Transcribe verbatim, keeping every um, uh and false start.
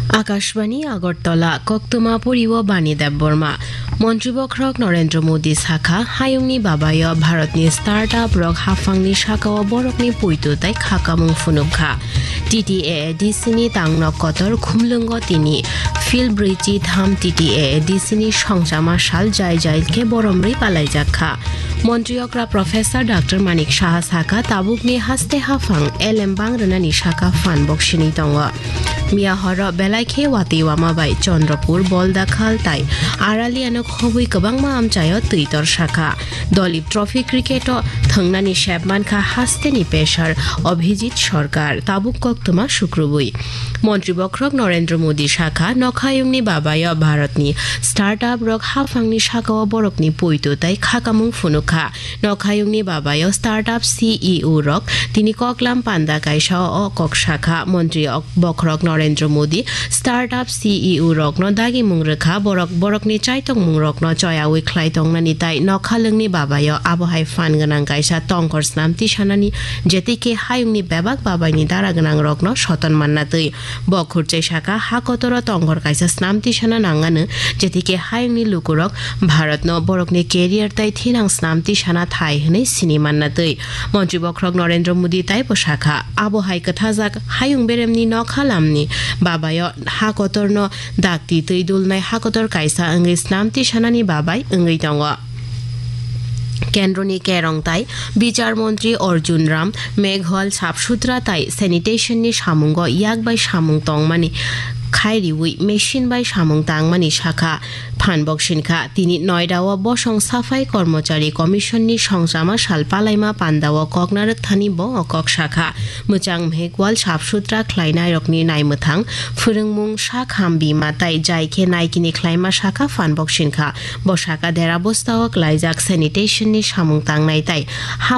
Akashbani Agartala, koktwma poriwo Bani Debbarma. Montri bokhorok Narendra Modi sakha, hayungni babayo Bharatni startup rok haphangni sakao borokni poito tei khakamung phunukha. T T A A D C ni tangnok kotor khumlwngo tini. Phil brwichi tham T T A A D C ni songchama sal jai jai khe boromrwi palaijakha. Montri okra Professor Doctor Manik Saha sakha, tabukni haste haphang elem bang rwnani saka phan boksini tongo. Miya horo belai khe watwi wama bai Chandrapur, Boldakhal tai Araliano khobwi kwbangma amchaio twi torsakha. Dolip Trophy cricket-o thwngnani sep mankha hasteni pesar Abhijit Sarkar, tabuk koktwma sukrubwi. Montri bokhorok Narendra Modi sakha, nokhayungni babayo Bharatni startup rok haphangni sakao borokni poito tei khakamung phunukha. Nokhayungni babayo startup C E O rok tini koklam panda kaisa o kok sakha. Montri ok-, bokhorok Narendra Modi startup C E O rokno dagimung rwkha, borok borokni chaitokmung rokno choyawi khlai tongnani tai nokhalwngni babayo abohai phan gwnang kaisa tongkhor snam tisanani, jetikhe hayungni bebak babaini dara gwnang rokno soton manna twi. Bo khurchai saka, ha kotoro tongkhor kaisa snam tisana nangano, jetikhe hayungni lukurok Bharatno borokni career tai thinang snam tisana thai hwnwi sini manna twi. Montri bokhorok Narendra Modi taibo sakha, abo hai kwthajak hayung beremni nokha lamni babayo ha kotorno dakti twi dulnai ha kotor kaisa wngwi snam tisanani babai wngwi tongo. Kendroni kerong tai bichar montri Arjun Ram Meghwal sap sutra tai sanitation ni samungo yak bai samung tongmani khai riwi machine bai samung tangmani sakha. Phan boksini kha, tini Noida-o bosong Safai Kormochari Commission ni songchama sal palaima panda-o kok narwk thani bo o kok sakha. Mwchang Meghwal sap sutra khlainai rokni naimwthang phwrwngmung sak ham bima tai jai khe naikini khlaima sakha phan boksini kha. Bo saka dera bostao klaijak sanitation ni samung tangnai tai ha